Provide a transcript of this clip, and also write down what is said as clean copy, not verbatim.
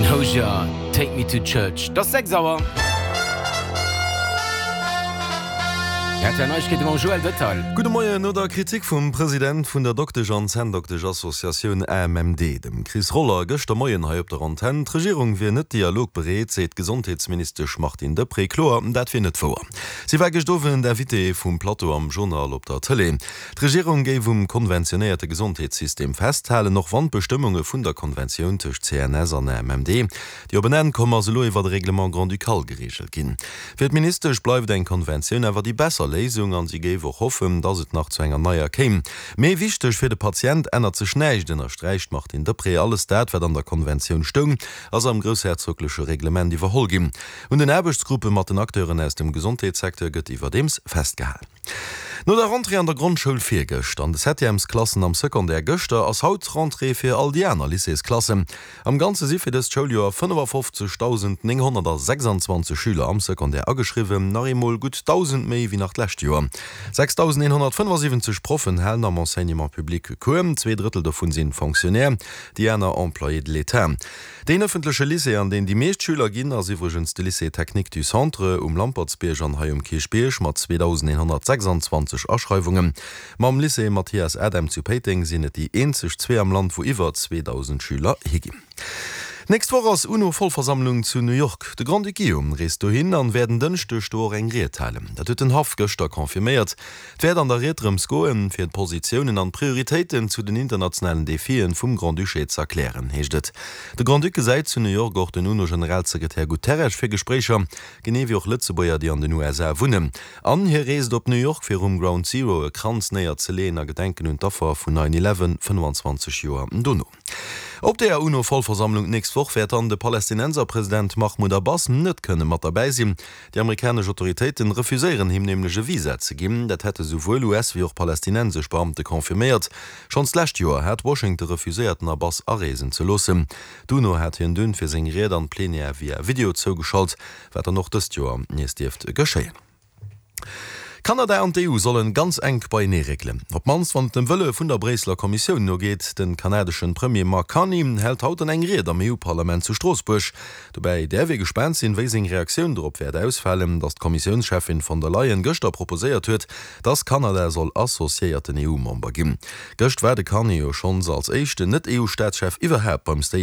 Hozier, Take Me To Church. Et ass 6 Auer. Rtl Neiegkeete mam Joël Detail. Gudde Moien. No der Kritik vum President vun der Doktesch an Zänndoktesch-Associatioun AMMD, dem Chris Roller, gëschter Moien hei op der Antenn, d'Regierung wier net dialogbereet, seet d'Gesondheetsministesch Martine Deprez kloer, dat wier net wouer. Si war gëscht Owend Invitée vum Plateau am Journal op der Tëlee. D'Regierung géif um konventionéierte Gesondheetssystem festhalen, och wann d'Bestëmmunge vun der Konventioun tëscht CNS an AMMD, déi op en Enn komm ass, elo iwwer e Règlement grand-ducal gereegelt ginn. Fir d'Ministesch bleift eng Konventioun awer déi besser Léisung an si géif och hoffen, datt et nach zu enger neier kéim. Mee wichteg fir de Patient ännert sech näischt, ënnersträicht d'Martine Deprez. Alles dat, wat an der Konventioun stoung, ass am groussherzogleche Reglement iwwerholl ginn. Un den Aarbechtsgruppe mat den Acteuren aus dem Gesondheetssecteur gëtt iwwerdeems festgehal. No der Rentrée an der Grondschoul virgëscht an de Septièmesklassen am Secondaire gëschter, ass haut d'Rentrée fir all déi aner Lycéesklassen. Am Ganze si fir dëst Schouljoer 55.926 Schüler am Secondaire ageschriwwen, nach eemol gutt 1.000 méi wéi nach d'lescht Joer. 6.175 Proffen halen am Enseignement public Cours, 2 Drëttel dovun sinn Fonctionnaires, déi aner Employés de l'État. Deen ëffentleche Lycée, an deen déi meescht Schüler ginn, ass iwwregens de Lycée Technique du Centre um Lampertsbierg an hei um Kierchbierg mat 2.126 Aschreiwungen. Mam Lycée Mathias Adam zu Péiteng sinn et déi eenzeg zwee am Land, wou iwwer 2.000 Schüler higinn. D'nächst Woch ass UNO-Vollversammlung zu New York. De Grand-Duc Guillaume reest dohin an wäert en Dënschdeg do och eng Ried halen. Dat huet den Haff gëschter confirméiert. Et wäert an der Ried drëms goen, fir d'Positiounen an d'Prioritéiten zu den internationalen Defien vum Grand-Duché z'erklären, heescht et. De Grand-Duc gesäit zu New York och den UNO-Generalsekretär Guterres fir Gespréicher, genee wéi och Lëtzebuerger, déi an den USA wunnen. An hie reest op New York, fir um Ground Zero e Kranz néierzeleeën a Gedenken un d'Affer vun Nine Eleven, 25 Joer dono. Op der UNO-Vollversammlung d'nächst Woch wäert dann de Palästinenserpresident Mahmoud Abbas net kënne mat derbäi sinn. Déi amerikanesch Autoritéiten refuséieren him nämlech e Visa ze ginn. Dat hätte souwuel US wéi och palästinensesch Beamte confirméiert. Schonns d'lescht Joer hat Washington refuséiert den Abbas areesen ze loossen. D'UNO hat hien dunn fir seng Ried an d'Plenière via Video zougeschalt, wat dann och dëst Joer nees dierft geschéien. Kanada an d'EU sollen ganz enk beienee réckelen, op d'mannst wann et dem Wëlle vun der Bréisseler Kommissioun nogeet. Den kanadeschen Premier Mark Carney hält haut dann eng Ried am EU-Parlament zu Stroossbuerg. Dobäi däerf ee gespaant sinn, wéi seng Reaktioun dorop wäert ausfalen, datt d'Kommissiounscheffin von der Leyen gëschter proposéiert huet, datt Kanada soll associéierten EU-Member ginn. Gëscht war de Carney jo schonns als éischten Net-EU-Staatschef iwwerhaapt beim State.